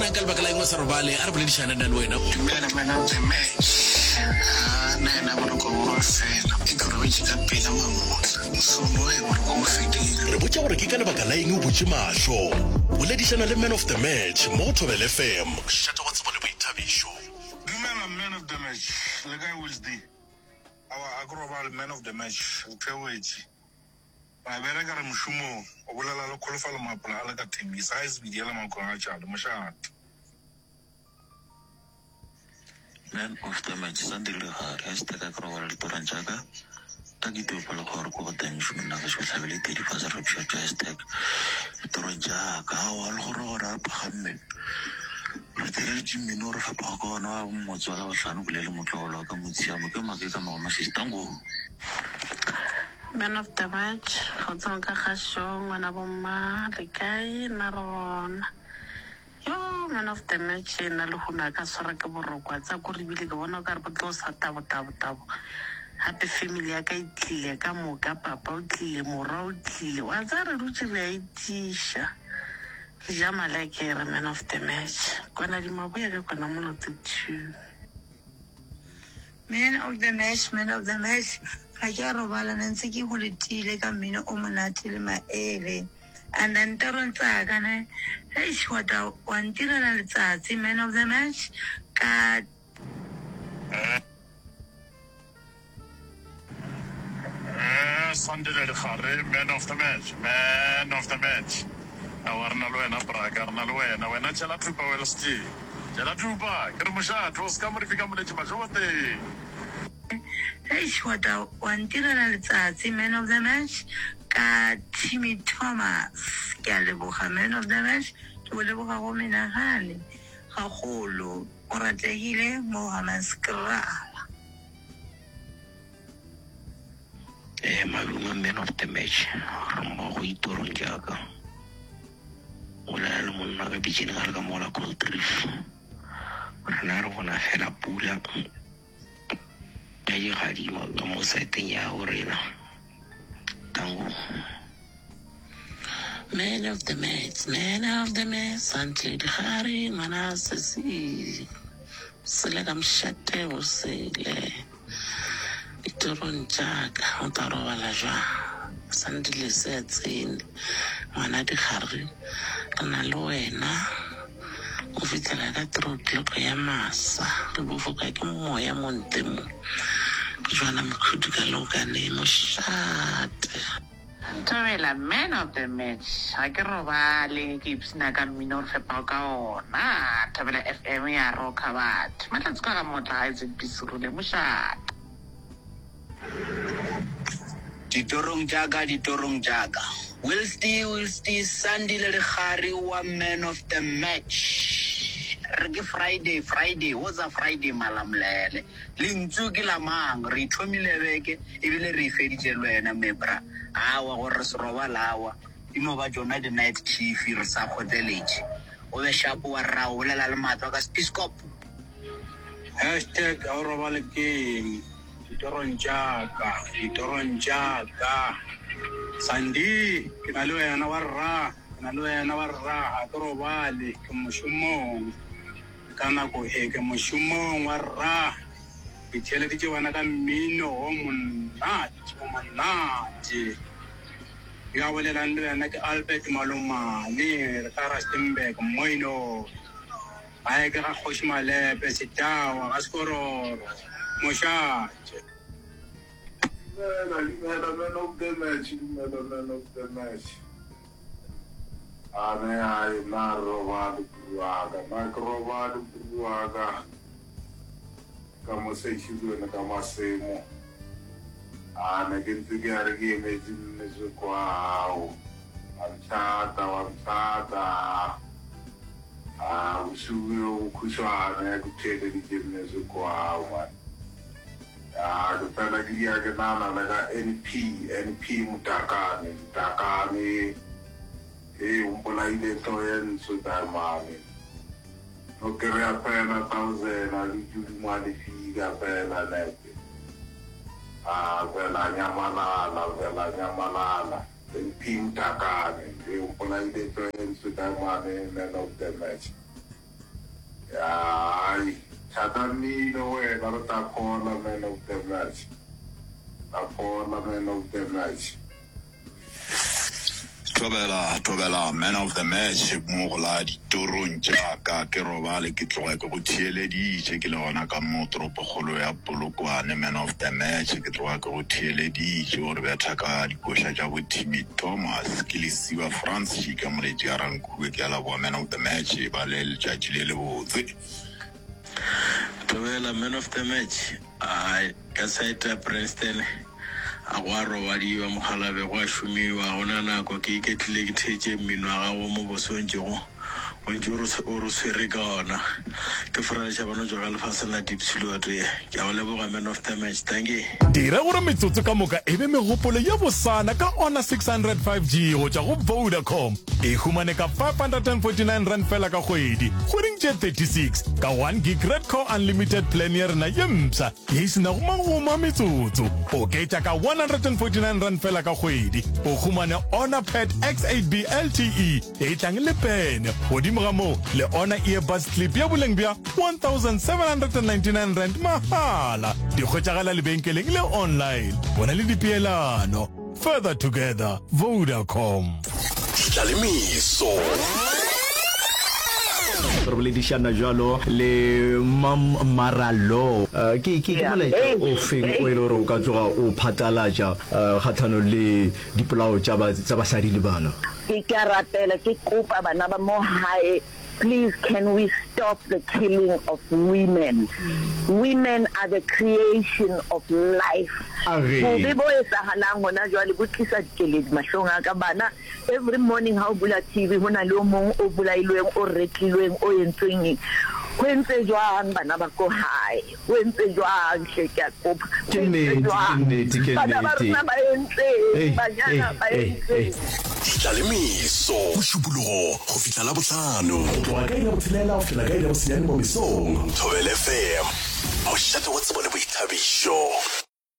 na ka lebaka la eng o sa robale? A re boledišane nna le wena. Dumela man of the match. Haa nna yena boroko bo a fela. E ke robetše ka pela mamohla. Mosomo hei boroko bo fedile. Re botša gore ke ka lebaka la eng o butše mahlo. Boledišana le man of the match mo go Thobela FM. Mošate wa tsebo le boithabišo. Dumela man of the match. Le kae Wilsdy? Aowa a ke robale man of the match. Re theogetše. Ra bereka re mošomong. O bolela le Kholofelo Mapola a le ka Thembisa gae Sebidi ya le Makweng a Tšale. Mošate. Man of the match Sandile Legare hashtag a ke robala ditorong tša ka a ke topa le gore ko go teng mošomong nna gešo hlabele tedi fase re pšhatša hashtag ditorong tša ka aowa le gore gore a phagamme re thereletše mmino o re fapago ka ona wa motse wa Labohlano bolele motlogolo wa ka Motshiamo ke make ka magoma sistango. Man of the match, kgotsong ka kgašong ngwana bomma le kae nna re gona. Yo man of the match ena lehono a ka swara ke boroko a tsaya kore ebile ke bona o kare bo tlo sa tabo tabo tabo gape family ya ka e tlile ka moka papa o tlile morwa o tlile wa tsaya re dutše re a itiša re ja malekere man of the match kwana dimaboya ka kwana molote two. Man of the match, man of the match, ga ke a robala ne ntse ke go letile ka mmino o monate le maele. And then torong tsaka ne, eish wa ta wa ntirela letsatsi man of the match ka. Sandile Dikgare, man of the match, man of the match. Aowa re na le wena braka, re na le wena. Wena tšhela thupa Welsty, tšhela thupa. Ke re mošate, o se ka mo re fika moletši mašoboteng. Eish wa ta wa ntirela letsatsi man of the match ka Timmy Thomas. Ke a leboga man of the match, ke go leboga go menagane gagolo. O rategile mo Hammanskraal. Eh, malume man of the match re mmogo ditorong tša ka. O bolela le monna ka pitšeng ga re ka mola Cold Reef. Rena re bona fela pula ya dikgadima ka mo saeteng ya go rena. Tango. Man of the match, man of the match, Santle Dikgare, ngwana sesi, sele ka mošate o sele. Ditorong tša ka, o tla robala jwang? Sandile se a tsene, ngwana Dikgare, re na le wena go fihlela ka three o'clock ya masa. Re bofoka ke moya mo ntle mo. Jwana Mokhudu ka leokane mošate. Thobela man of the match ga ke robale ke ipshina ka mmino o re fepago ka ona Thobela FM ya rocka batho Mahlatse kwa ga Motla ga ZB Serule mošate. Ditorong tša ka, ditorong tša ka. Wilsty, Wilsty, Sandile Lekgari wa man of the match. Re ke Friday, Friday, woza Friday Malamulele. Lentšu ke la mang? Re ithomile beke ebile re e feditše le wena me bra. Awa gore re se robale awa e no ba tšona di night chief re sa kgotleletše. O be sharp wa rra o bolela le matlo ka spiskop. Hashtag ga o robale ke eng? Ditorong tša ka, ditorong tša ka. Sandy, ke na le wena wa rra, ke na le wena wa rra, ga ke robale, ke mošomong. Ka nako e ke mošomong wa rra, ke theeleditše wena ka mmino o monate, o monate. Yo a bolelang le wena ke Albert Malomane, re ka Rustenburg, Moinong. Gae ke ga Kgoši Malepe, Setawa, ga Sekororo, Mošate. Dumela, dumela man of the match, dumela man of the match. A ne ai nna re robale bru waka, nna ke robale bru waka ka mo Centurion ka masemo. A ne ke ntse ke a re ke emetse mme kwa hao. Wa nthata, wa nthata. A bosigo bjo bokhutshwane ke theeleditše music wa hao man. Ya ke fela ke dia ke nana le ka NP, NP Motakane, Motakane. Hei o mpolaile hlogo ye ntsho Daemane. No kereya fela thousand a dutše godimo ga lefika fela nepe. A fela nyamalala, fela nyamalala. NP Motakane, hei o mpolaile hlogo ye ntsho Daemane, man of the match. Hai, thata mmino wena re tla phola man of the match. Tla phola man of the match. Thobela, thobela man of the match mo go la ditorong tša ka ke robale ke tloga ke go theeleditše ke le gona ka mo toropokgolo ya Polokwane man of the match ke tloga ke go theeleditše o re betha ka dikoša tša bo Timmy Thomas ke Lesiba Frans Šika Moletši a Rankuwe ke a leboga man of the match e ba le letšatši le lebotse. Thobela man of the match Ai, ka side ya Princeton a go a robadiwa mokgalabje, go a šomiwa, ga go na nako. Ke iketlile ke theetše mmino wa gago mo bose o ntšego o ntše o re o re swere ka ona. Ke Fora Lešabano tšwa ka lefaseng la Diepsloot. Ke a go leboga man of the match. Dankie. Dira gore metsotso ka moka e be megopolo ye bosana ka Honor 600 5G go tšwa go Vodacom. E humane ka R549 feela ka kgwedi, kgweding tše 36, ka 1 gig Redco Unlimited plan ya rena ye mpsha ye e se nago magomo a metsotso. Oketša ka R149 feela ka kgwedi, o humane Honor Pad X8B LTE e tlang le pene, godimo ga moo le Honor Earbuds Clip ya boleng bja R1799 mahala. Di hwetšagala lebenkeleng le online. Bona le dipeelano. Further together, Vodacom. Tlalemeso. Re boledišana bjalo le Mam Maralo. Ke ke ke molaetša o feng o e le gore o ka tloga o phatlalatša kgahlanong le dipolao tša ba tša basadi le bana? Ke ke a rapela ke kopa bana ba mo hae Please can we stop the killing of women women are the creation of life bobe bo etsahalang hona jwale bo tlisa dikeledi mahlong a ka bana every morning ha o bula TV ho na le o mong o bolailweng o retlilweng o entsweng eng ho entse jwang bana ba ko hae Ho entse jwang hle ke a kopa. Ke nnete, ke nnete, ke Bana ba nnete. rona ba entseng? Ei, Banyana ei, ba ei, ei. entseng? Ditlalemeso, Mošupologo go fihla Labohlano. Go tloga ka iri ya botshelela go fihlela ka iri ya bosenyane mo mesong. Thobela FM, mošate wa tsebo le boithabišo.